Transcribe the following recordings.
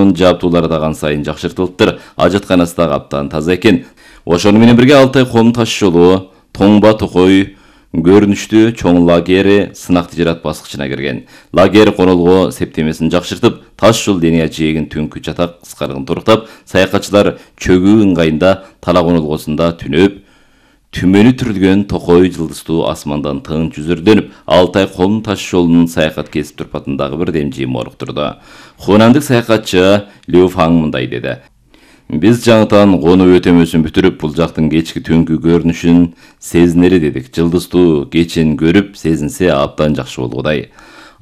жолунун жабдуулары дагы сайын жакшыртылыптыр. Ажатканасы дагы абдан таза экен. Ошону менен бирге Алтай коомдук таш жолу Тоңба Токой көрүнүштүү чоң лагери сынак тижарат баскычына кирген. Лагер конолго септемесин жакшыртып, таш жол линия жээгин түнкү жатак кыскарыгын торуктап, саякатчылар чөгүү ыңгайында Тала конолгосунда түнөп, түмөнү түрүлгөн Токой жылдыздуу асмандан тың жүзүрдөнүп, Алтай коомдук таш жолунун саякат кесип турпатындагы бир демжи моруктурду. Хунандык саякатчы Лю Фаң мындай деди: Биз жаңытан конуу өтөмөсүн бүтүрүп, бул жактын кечки түнкү көрүнүшүн сезинери дедик. Жылдыздуу кечен көрүп, сезинсе абдан жакшы болгудай.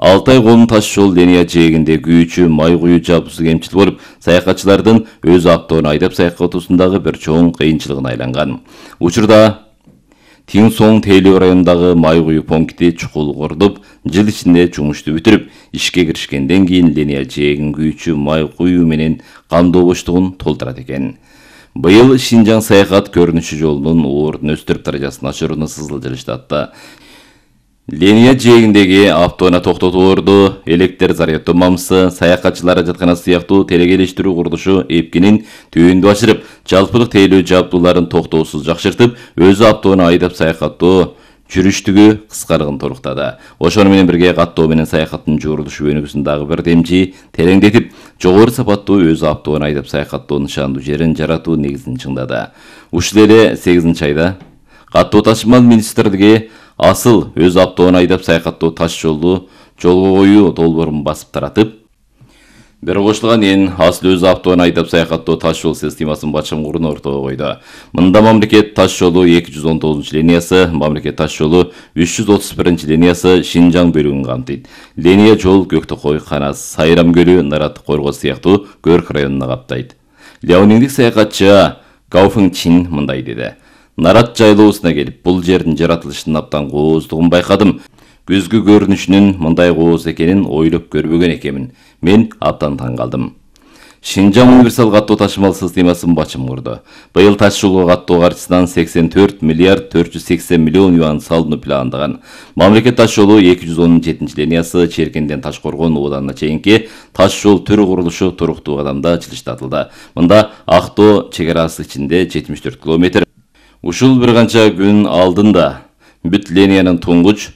Алтай коомдук таш жол линия жээгинде күйүүчү май куюу жабдуусу кемчил болуп, саякатчылардын өз автоуну айдап саякатуусундагы бир чоң кыйынчылыгына айланган. Учурда Тиңсоң Тейлөө районундагы май куюу пункти чукул кордуп, жыл ичинде жумушту бүтүрүп, ишке киришкенден кийин линия жээгин күйүүчү май куюу менен камдоо боштугун толтурат экен. Быйыл Шинжаң саякат көрүнүшү жолунун ордун өстүрүп даражасын ачырууну сызылжырыштатты. Линия жээгиндеги автоуна токтотуу орду, электр заряддоо мамысы, саякатчылар ажатканасы сыяктуу телекелештирүү курулушу эпкинин түйүндү ашырып, жалпылык тейлөө жабдууларын токтоосуз жакшыртып, өзү автоуну айдап саякаттоо жүрүштүгү кыскарыгын торуктады. Ошону менен бирге каттоо менен саякаттын жуурулушу өнүгүүсүн дагы бир демжи тереңдетип, жогору сапаттуу өзү автоуну айдап саякаттоо нышандуу жерин жаратуу негизин чыңдады. Ушул эле 8-айда каттоо ташымал министрлиги асыл өз автоуну айдап саякаттоо таш жолду жолго коюу долбоорун басып таратып, бир кошулган эн асыл өз автоуну айдап саякаттоо таш жол системасын башкарууну ортого койду. Мында мамлекет таш жолу 219-линиясы, мамлекет таш жолу 331-линиясы Шинжаң бөлүгүн камтыйт. Линия жол Көктөкой, Канас, Сайрам көлү, Нарат, Коргоз сыяктуу Көрк районуна каптайт. Ляониңдик саякатчы Гао Фың Чин мындай деди: Нарат жайлоосуна келип, бул жердин жаратылышынын абдан кооздугун байкадым. Күзгү көрүнүшүнүн мындай кооз экенин ойлоп көрбөгөн экенмин. Мен абдан таң калдым. Шинжаң универсал каттоо ташымал системасын башым курду. Быйыл таш жолго каттоо каржысынан 84 миллиард 480 миллион юан салынуу пландаган. Мамлекет таш жолу 217-линиясы Черкенден Ташкоргон ооданына чейинки таш жол түрү курулушу туруктуу кадамда жылыштатылды. Мында Актоо чек-арасы ичинде 74 километр. Ушул бир канча күн алдында бүт линиянын туңгуч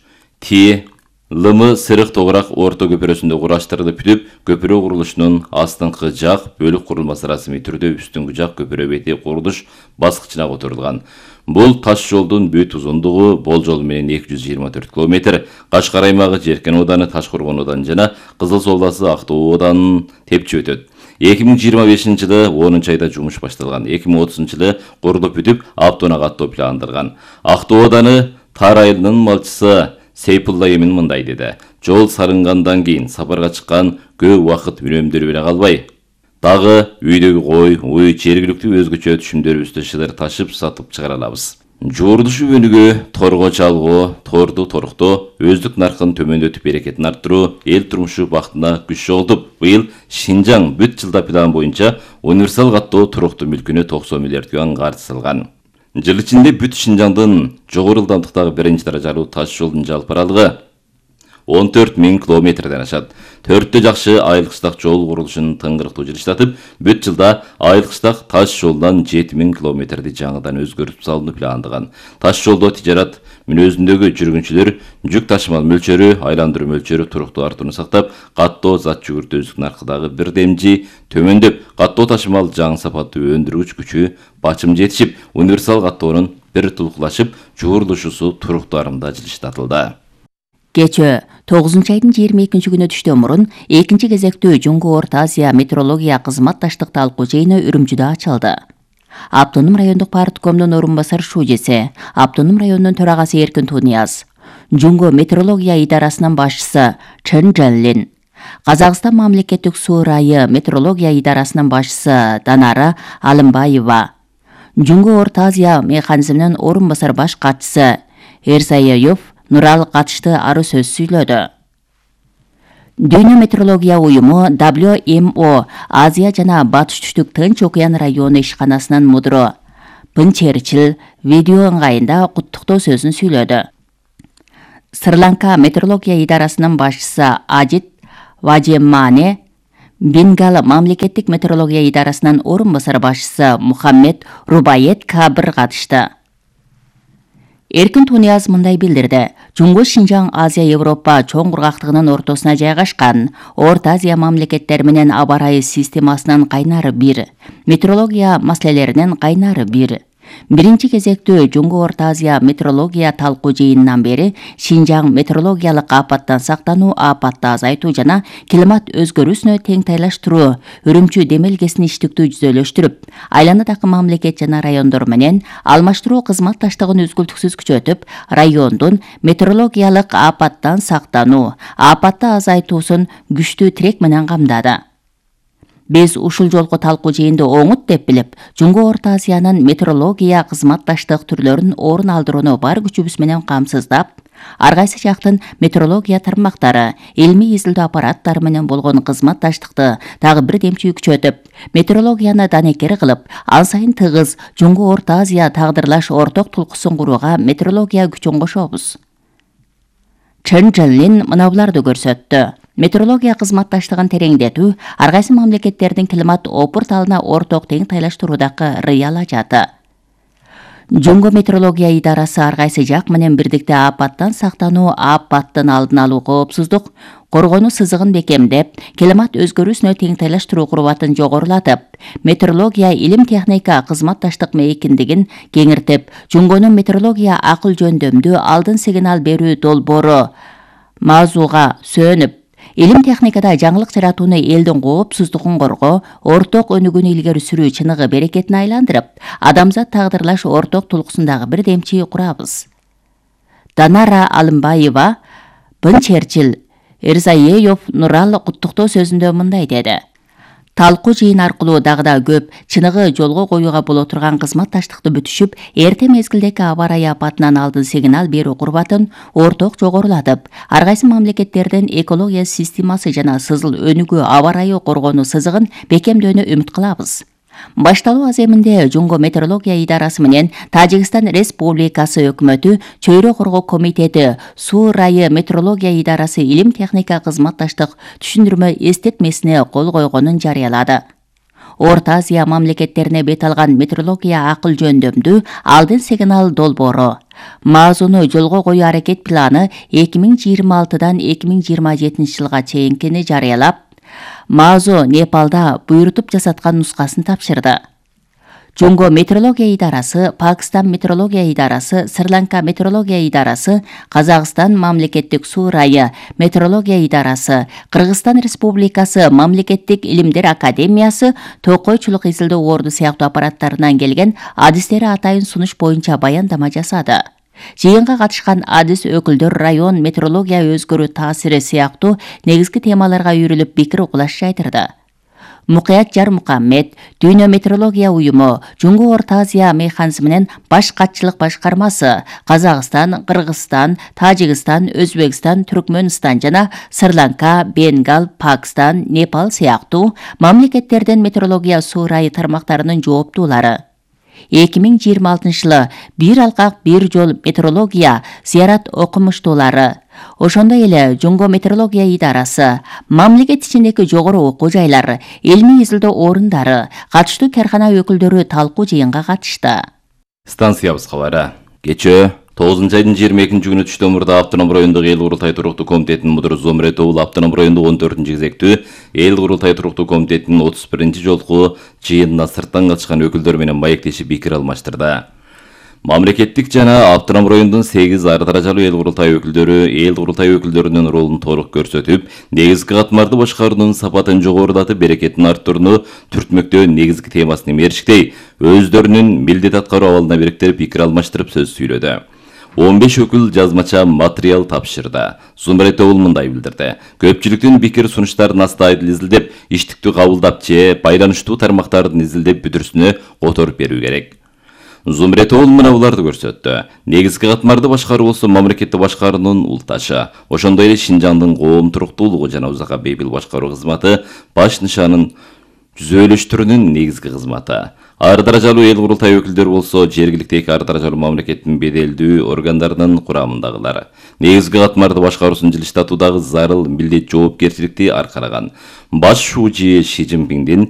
Ти Лымы Сырык Тогурак орто көпүрөсүндө кураштырылып бүтүп, көпүрө курулушунун астыңкы жак бөлүк курулмасы расмий түрдө үстүңкү жак көпүрө бети курулуш баскычына которулган. Бул таш жолдун бүт узундугу болжол менен 224 километр. Кашкар аймагы Жеркен ооданы, Ташкоргон ооданы жана Кызыл Суу областы Актоо оодарынын тепчи өтөт. 2025-жылы 10-айда жумуш башталган. 2030-жылы курулуп бүтүп, автоуна каттоо пландалган. Актоо ооданы Тар айылынын малчысы Сейпулла Эмин мындай деди: Жол сарынгандан кийин сапарга чыккан көп убакыт үнөмдөрү беле калбай, дагы үйдөгү кой, уй, жергиликтүү өзгөчө түшүмдөрүбүздү шыдыр ташып сатып чыгара алабыз. Жуурулушу өнүгүү, торго чалгоо, торду торуктоо, өздүк наркын төмөндөтүп берекетин арттыруу, эл турмушу бактына күч жоготуп, быйыл Шинжаң бүт жылда план боюнча универсал каттоо туруктуу мүлкүнө 90 миллиард юан каржы салган. Жыл ичинде бүт Шинжаңдын жогору ылдамдыктагы 1-даражалуу таш жолдун жалпы аралыгы 14 000 километрден ашат. 4 жакшы айыл-кыштак жол курулушун тыңгырыктуу жылыштатып, бүт жылда айыл-кыштак таш жолунан 7000 километрди жаңыдан өзгөртүп салууну пландаган. Таш жолдо тижарат мүнөзүндөгү жүргүнчүлөр жүк ташымал мөлчөрү, айландыруу мөлчөрү туруктуу артууну сактап, каттоо зат жүгүртүүчүлүк наркыдагы бир демжи төмөндөп, каттоо ташымал жаңы сапаттуу өндүргүч күчү бачым жетишип, универсал каттоонун бир тулуклашып, жуурулушусу туруктуу арымда жылыштатылды. Кечээ 9-айдын 22-күнү түштөн мурун 2-чи кезектүү Жуңгу Орто Азия метрология кызматташтык талкуу жыйыны Үрүмчүдө ачылды. Автоном райондук парткомдун орун басар шуудеси, Автоном районунун төрагасы Эркин Тунияз, Жуңгу метрология идарасынын башчысы Чен Жанлин, Казакстан мамлекеттик суу ырайы метрология идарасынын башчысы Данара Алымбаева, Жуңгу Орто Азия механизминин орун басар баш катчысы Эрсаяев Нурал катышты ары сөз сүйлөдү. Дүйнө метрология уюму WMO Азия жана Батыш түштүк Тынч океан району ишканасынын мудуру Пын Черчил видео ыңгайында куттуктоо сөзүн сүйлөдү. Сри-Ланка метрология идарасынын башчысы Ажит Важеммане Бенгал мамлекеттик метрология идарасынын орун басар башчысы Мухаммед Рубайет Кабир катышты. Эркин Тунияз мындай билдирди. Жунгу Шинжаң Азия Европа чоң кургактыгынын ортосуна жайгашкан Орто Азия мамлекеттери менен аба ырайы системасынын кайнары бир, метрология маселелеринин кайнары бир. Биринчи кезектүү Жунгу Орто Азия метрология талкуу жыйынынан бери Шинжаң метрологиялык апаттан сактануу, апатты азайтуу жана климат өзгөрүүсүнө тең тайлаштыруу Үрүмчү демелгесин иштиктүү жүзөлөштүрүп, айланадагы мамлекет жана райондор менен алмаштыруу кызматташтыгын үзгүлтүксүз күчөтүп, райондун метрологиялык апаттан сактануу, апатты азайтуусун күчтүү тирек менен камдады. Биз ушул жолку талкуу жыйынды оңут деп билип, Жунгу Орто Азиянын метрология кызматташтык түрлөрүн орун алдырууну бар күчүбүз менен камсыздап, ар кайсы жактын метрология тармактары, илмий изилдөө аппараттары менен болгон кызматташтыкты дагы бир демчи күчөтүп, метрологияны данекер кылып, ан сайын тыгыз Жунгу Орто Азия тагдырлаш орток тулкуусун курууга метрология күчүн кошобуз. Чен Чжэнлин мына буларды көрсөттү. Метрология кызматташтыгын тереңдетүү ар кайсы мамлекеттердин климат опурталына орток тең тайлаштыруудагы рыял ажаты. Жунгу метрология идарасы ар кайсы жак менен бирдикте апаттан сактануу, апаттын алдын алуу, коопсуздук коргонуу сызыгын бекемдеп, климат өзгөрүүсүнө тең тайлаштыруу курбатын жогорулатып, метрология илим техника кызматташтык мейкиндигин кеңиртип, Жунгунун метрология акыл жөндөмдүү алдын сигнал берүү долбоору мазууга сөнүп, илим техникада жаңылык жаратууну элдин коопсуздугун коргоо, орток өнүгүүнү илгери сүрүү чыныгы берекетине айландырып, адамзат тагдырлаш орток тулкусундагы бир демчи курабыз. Данара Алымбаева, Бын Черчил, Эрзаеев Нурал куттуктоо сөзүндө мындай деди. Талкуу жыйын аркылуу дагы да көп чыныгы жолго коюуга боло турган кызматташтыкты бүтүшүп, эрте мезгилдеги аба ырайы апатынан алдын сигнал берүү курбатын орток жогорулатып, ар кайсы мамлекеттердин экология системасы жана сызыл өнүгүү аба ырайы коргонуу сызыгын бекемдөөнү үмүт кылабыз. Башталуу аземинде Жунгу метрология идарасы менен Тажикстан Республикасы өкмөтү, Чөйрө коргоо комитети, Суу ырайы метрология идарасы илим техника кызматташтык түшүндүрмө эстетмесине кол койгонун жарыялады. Орто Азия мамлекеттерине бет алган метрология акыл жөндөмдүү алдын сигнал долбоору, мазууну жолго коюу аракет планы 2026-дан 2027 жылга чейинкини жарыялап, Мазу Непалда буйрутуп жасаткан нускасын тапшырды. Жунгу метрология идарасы, Пакистан метрология идарасы, Шри-Ланка метрология идарасы, Казакстан мамлекеттик суу ырайы метрология идарасы, Кыргызстан Республикасы мамлекеттик илимдер академиясы токойчулук изилдөө орду сыяктуу аппараттарынан келген адистери атайын сунуш боюнча баяндама жасады. Жыйынга катышкан адис өкүлдөр район метрология өзгөрүү таасири сыяктуу негизги темаларга үйрүлүп пикир угулаш жайдырды. Мукаят Жармухаммед, Дүйнө метрология уюму, Жунгу Орто Азия механизминин баш катчылык башкармасы, Казакстан, Кыргызстан, Тажикстан, Өзбекстан, Түркмөнстан жана Шри-Ланка, Бенгал, Пакистан, Непал сыяктуу мамлекеттердин метрология суу ырайы тармактарынын жооптуулары 2026 жылы бир алкак бир жол метрология зыярат окумуштуулары, ошондой эле Жунгу метрология идарасы, мамлекет ичиндеги жогору окуу жайлар, илмий изилдөө орундары, катыштуу каркана өкүлдөрү талкуу жыйынга катышты. Станциябыз кабары. Кечээ 9 айдын 22 күнү түштө мурда Автоном райондук эл курултай туруктуу комитетинин мудуру Зомрет Оул Автоном райондук 14 кезектүү эл курултай туруктуу комитетинин 31 жолку жыйынына сырттан катышкан өкүлдөр менен маектешип пикир алмаштырды. Мамлекеттик жана Автоном райондун 8 ар даражалуу эл курултай өкүлдөрү эл курултай өкүлдөрүнүн ролун толук көрсөтүп, негизги катмарды башкаруунун сапатын жогорулатып, берекетин арттырууну түртмөктөө негизги темасына мерчиктей, өздөрүнүн милдет аткаруу абалына бириктирип пикир алмаштырып сөз сүйлөдү. 15 өкүл жазмача материал тапшырды. Зумрет Оул мындай билдирди. Көпчүлүктүн пикир сунуштарын астайдыл изилдеп, иштиктүү кабылдап же байланыштуу тармактардын изилдеп бүтүрүсүнө которуп берүү керек. Зумрет Оул мына буларды көрсөттү. Негизги катмарды башкаруу болсо мамлекетти башкаруунун улташы. Ошондой эле Шинжаңдын коом туруктуулугу жана узакка бейпил башкаруу кызматы баш нышанын түзөлүштүрүүнүн негизги кызматы. Ар даражалуу эл курултай өкүлдөр болсо жергиликтеги ар даражалуу мамлекеттин беделдүү органдарынын курамындагылар. Негизги катмарды башкаруусун жылыштатуудагы зарыл милдет жоопкерчиликти аркараган. баш шүүжи Ши Цзиньпиндин